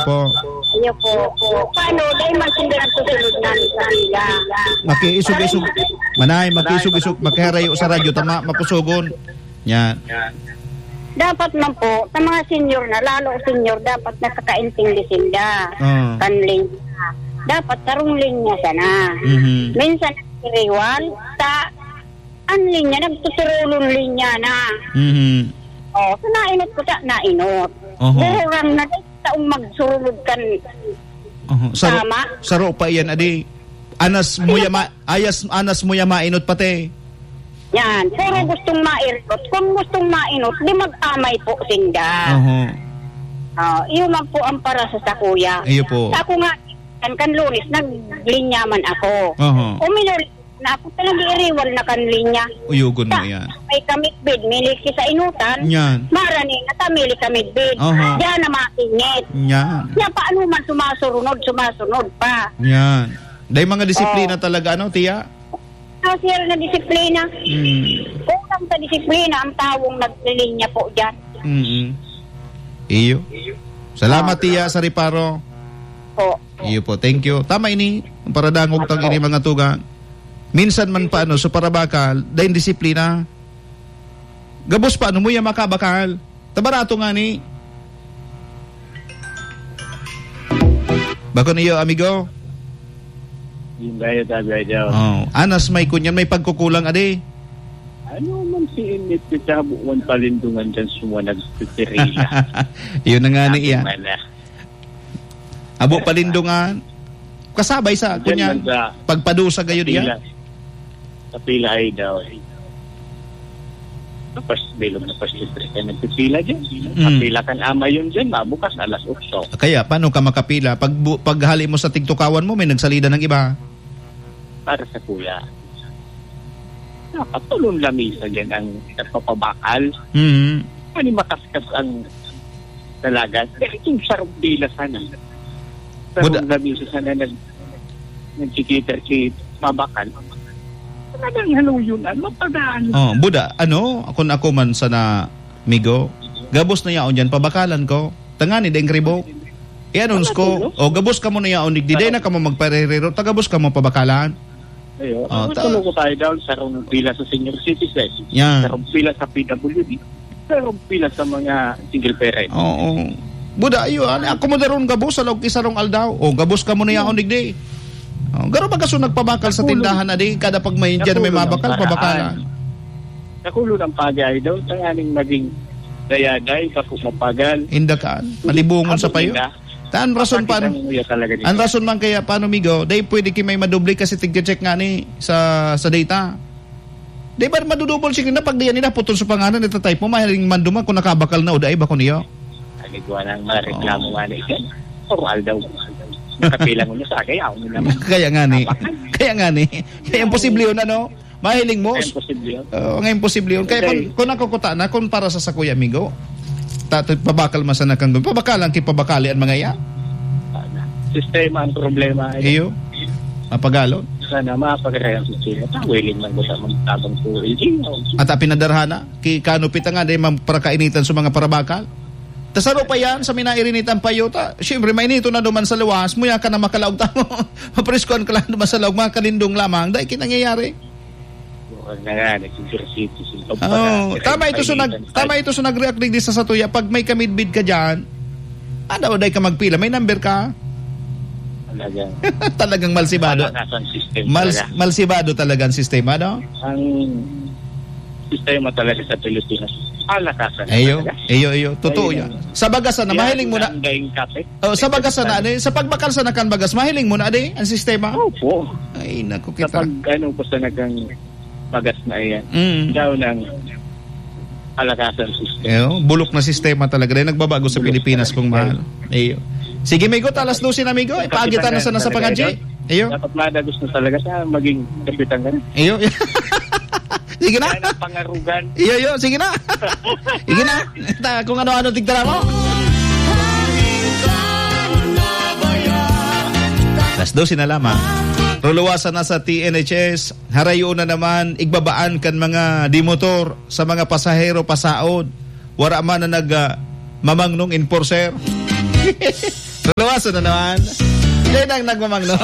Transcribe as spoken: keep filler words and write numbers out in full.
po. Iyo po. Paano? Dahil man sila nagsusunod na sa kanila. Makiisog-isog. Manay, makiisog-isog. Makiharayo sa radyo. Tama, makusugon. Yan. Dapat man po, sa mga senior na, lalo senior, dapat nakakaintindi sinda. Ah. Kan linya. Dapat sarong linya sana. Mhm. Minsan, iriwal, sa an linya, nagtuturulon linya na. Mhm. Oh, so nainot ko ta, nainot. Oho. Buhurang na, taong magsurulod kan Oho. Saro, tama. Saro pa iyan, adi. Anas mo Sino yama, ayas, anas mo yama, inot pati. Yan, puro gustong mairot. Kung gustong mainot, di mag-amay po sinda. Oho. Ah, iyo man po ang para sa sakuya. Iyo po. Sa ako nga, kan, kan Lunes, naglinya man ako. Oho. Uminuli na ako, talaga iriwal na kan linya. Uyugon mo Ta-, yan. May kamidbid, mili ki sa inutan. Yan. Marani na ta, mili kamidbid. Oho. Diyan na matingit. Yan. Kaya paano man sumasurunod, sumasunod pa. Yan. Dahil mga disiplina Oh. talaga, ano, tiya? Ah, sir, na disiplina. Hmm. Kulang sa disiplina ang taong naglilinya po dyan. Mm-mm. Iyo. Salamat, Ah. tiya, sa reparo. Po. Iyo po, thank you. Tama ini, ang paradangog tang ini mga tugang. Minsan man pa, ano, so parabakal, dahil disiplina. Gabos pa, ano mo yan, makabakal? Tabarato nga ni. Bako niyo, amigo? Yung gaya, sabi ay daw. Oh, anas may kunyan, may pagkukulang, adi. Ano man si Init, kitabuan palindungan dyan, sumuwa nagpipirila. Yun na nga ni Sabi iya. man na. Abo palindungan. Kasabay sa, Diyan kunya, lang sa pagpadusa gayo diyan. Kapila. Kapila ay daw. Tapos, bilog na pasipre ka nagpipila dyan. Mm. Kapila kan ama yun dyan, mabukas alas otso. Kaya, paano ka makapila? Pag bu-, paghali mo sa tigtukawan mo, may nagsalida ng iba. Para sa kuya. Nakatulong lamisa dyan ang nagpapabakal. Mhm. Ano makaskas ang dalaga? Eh, itong sarong dila sana. Sarong Buda- lamisa sana nag-, nagkikita si mabakal. Talagang haluyon na, mapagaan. Oh, Buda, ano, kung ako man sana, migo, gabos na yaon dyan, pabakalan ko. Tangani, deng ribok. Ianons ko, Ano, o, gabos ka mo na yaon, digdi, day na ka mo magparerero, tagabos ka mo pabakalan. Ayo, Oh, ang ta- tulong ko tayo daw, sarong pila sa senior citizen, Yan. sarong pila sa P W D, sarong pila sa mga single parent. Oo. Buda, ayo, ani, ako mo daron gabos, sa log isarong aldaw. O, gabos ka mo na yaon, digdi. O, garo ba kaso nagpabakal sa Nakulong. tindahan na di, kada pag may Indian may Nakulong ang mabakal, paraan. pabakalan. Nakulong ang pagay daw, tanganing maging dayaday, bako mapagal. Inda ka, malibungon sa payo. Abot nila. Ta, an rason Bakit pa, ang nguya talaga nito? an rason man kaya, paano, migo? Dai pwede ki may madoble kasi tigche-check nga ni sa, sa data. Di ba madudubol siya na pag diyan nila, putol sa pangalan, itatype mo, mahiling man duman kung nakabakal na o dai ba ko niyo? Ay, nagwa nang mga reklamo Oo. nga na ito. Formal daw. Nakapilang mo sa kaya ako naman. Kaya nga ni. Nabakal. Kaya nga ni. Kaya imposible yun, ano? Mahiling mo? Ay, imposible yun. Oo, nga imposible yun. Kaya Hindi. kung, kung nakukuta na, kung para sa sakuya, amigo, ta-, ta-, pabakal man sana kang gun-, pabakalan, kipabakali ang mga iya. Sistema ang problema. Iyo. Mapagalon. Sana mapagkakayang sistema. Ta, willing man ko sa magtabang po, eh, iyo. At apinadarhana, ki-, kanupit nga, di man parakainitan sa mga parabakal. Ta saro pa yan, sa minairinitan pa yuta. Siyempre, mainito na duman sa luwas, muya ka na makalaog tamo. Mapreskuhan ka lang duman sa laog, mga kalindong lamang. Dahil kinangyayari. Huwag na nga, nag-ejercito sila. Oo, Pagka-, tama ito sa nag-, painitan pa. tama ito sa nag-react digdi sa satuya. Pag may kamidbid ka dyan, ano, dai ka magpila, may number ka. Talagang Talagang malsibado. Palakasan system Mal-, talaga. malsibado talaga ang sistema, no? Ang sistema talaga sa Pilipinas, palakasan Ayo, talaga. ayo, ayo. Totoo Ayun yan. ang Sa bagas na, Yan mahiling mo na. ang daing kape. Oh, sa bagas na, Yan. ano, sa pagbakal sa nakan bagas, mahiling mo na, adi, ang sistema? Opo. Ay, naku, Sa kita. pag, ano, basta nagang bagas na iyan. Mm. Daw ng kalakasan system. Eyo, bulok na sistema talaga. Dahil nagbabago sa Bulok Pilipinas, talaga. kung mahal. Eyo. Sige, migo, alas dose na, migo. Ipaagitan na sana sa pangadji. Eyo. Dapat madagos na talaga sa maging kapitan ka na. Eyo. Sige na. Yan ang pangarugan. Iyo, iyo. Sige na. Sige na. Ta, kung ano-ano tigtara mo. Alas dose na lamang. Ruluwasan na sa T N H S. Harayo na naman, igbabaan kan mga dimotor sa mga pasahero pasaod. Wara man na nag, ah, mamangnong enforcer. Aso na naman. Yan ang nagmamang, no?